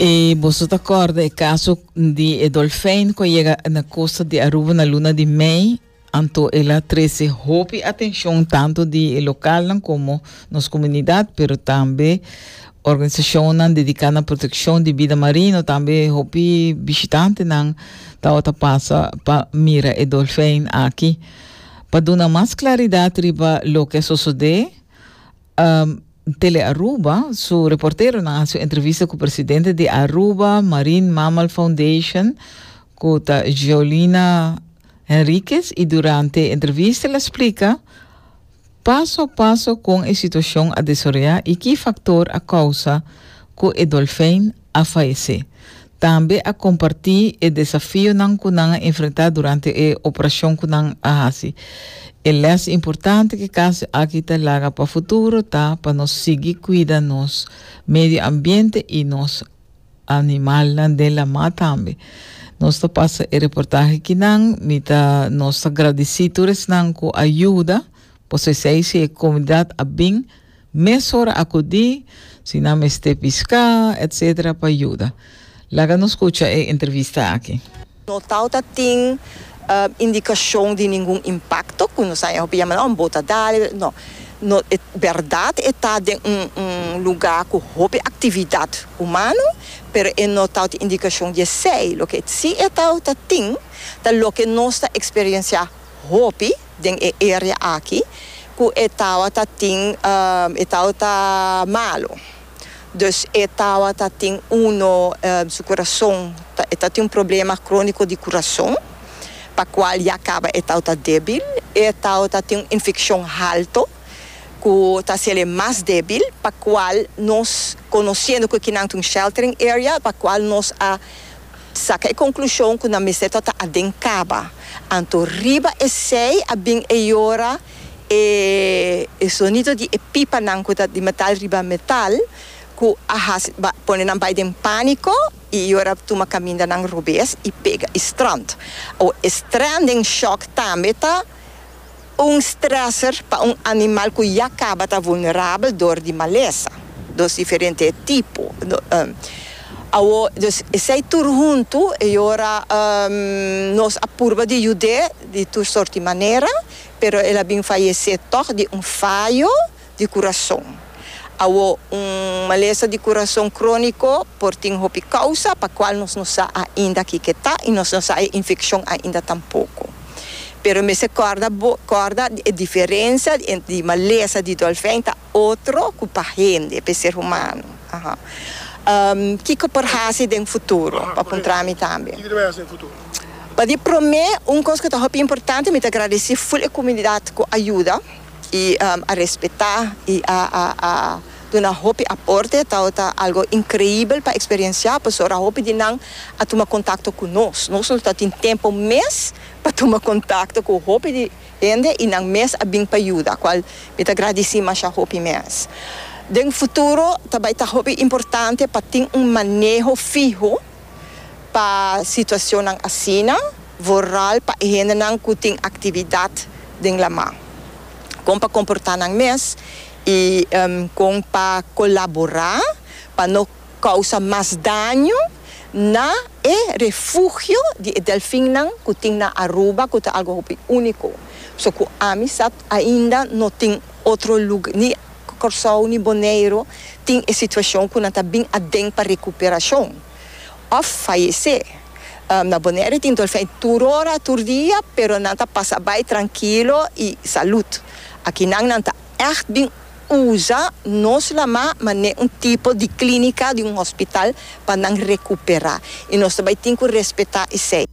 E boso ta corda e caso di e dolfijn cu a yega na costa di Aruba na luna di mei. Anto el a trece hopi atencion tanto di e localnan como nos comunidad, pero tambe organisacionnan dedica na proteccion di bida marino, tambe hopi bishitantenan tabata pasa pa mira e dolfijn aki. Pa duna mas claridad riba loke a sosode, Telearuba su reporteronan a haci un entrevista cu presidente di Aruba Marine Mammal Foundation, cu ta Jolina Henriquez, y durante e entrevista el a splica paso a paso con e situacion a desaroya y ki factor a causa cu e dolfijn a fayece. Tambe a comparti e desafionan cu nan a enfrenta durante e operacion cu nan a haci. E les importante cu e caso aki ta laga pa futuro ta pa nos sigui cuida nos medio ambiente y nos animalnan den lama tambe. Nos ta pasa e reportahe kinan, mi ta nos ta gradici tur esnan cu a yuda, pasobra esey si e comunidad a bin mesora acudi, si nan mester pisca etc. Pa yuda. Laga nos scucha e entrevista aki. No tawata tin indicacion di ningun impacto cu nos a hopi yama un bota dal, no. No, e berdad e ta den un un lugar cu hopi actividad humano, pero e no tawata indicacion di esey. Loke si e tawata tin ta loke nos ta experiencia hopi den e area aki cu e tawata tin e tawata malo. Dus e tawata tin uno su curason e ta tin un problema cronico di curason pa cual ya caba e tawata debil. E tawata tin un infeccion halto cu ta haciele mas debil pa cual nos conociendo cu kinan ta un sheltering area pa cual nos a Saka e konklushon ku nan mester ta ta aden kaba. Anto riba esei a bin e yora e e sonido di e pipanan ku ta di metal riba metal ku a hasi ba pone nan bai den pániko i yora tuma kamindanan robes i pega i strand. Awor e stranding shock tambe ta Un stressor pa un animal ku ya kaba ta vulnerabel dor di malesa, dos diferente tipo. Awor, dus esei tur huntu e ora nos a purba di yud'é di tur sort di manera, pero el a bin fayesé tòg di un fayo di kurason. Awor, un malesa di kurason króniko por tin hopi kousa pa kual nos no sa ainda kiko ta i nos no sa e infekshon ainda tampoko. Pero mester kòrda bo kòrda e diferensia di malesa di dòlfèn ta otro ku pa hende, pa e ser humano. Aha. Kiko por hasi den futuro? Pa puntra mi tambe. Kiko ta bai hasi den futuro? Pa di promé, un kos ku ta hopi importante, mi ta gradisí ful e komunidat ku a yuda. I a respetá i a a a duna hopi aporte tabata algo increibel pa experienciá pasobra hopi di nan a tuma contacto cu nos. Nos no ta tin tempo mes pa tuma contacto cu hopi di hende i nan mes a bin pa yuda cual mi ta gradici masha hopi mes. Den futuro ta bay ta hopi importante pa tin un maneho fiho pa situacionnan asina, vooral pa e hendenan cu tin actividad den lama. Con pa comporta nan mes y con pa colabora pa no causa mas daño na e refugio di e delfinnan cu tin na Aruba cu ta algo hopi unico. So cu ami sa ainda no tin otro lugar ni Corsou ni Boneiro tin e situacion cu nan ta bin aden pa recuperacion of fayece. Na Bonaire tin dolfijn tur ora, tur dia, pero nan ta pasa bai trankilo y salud. Akinan nan ta echt bin usa nos lama mane un tipo di clinica, di un hospital pa nan recupera y nos ta bai tin cu respeta esey.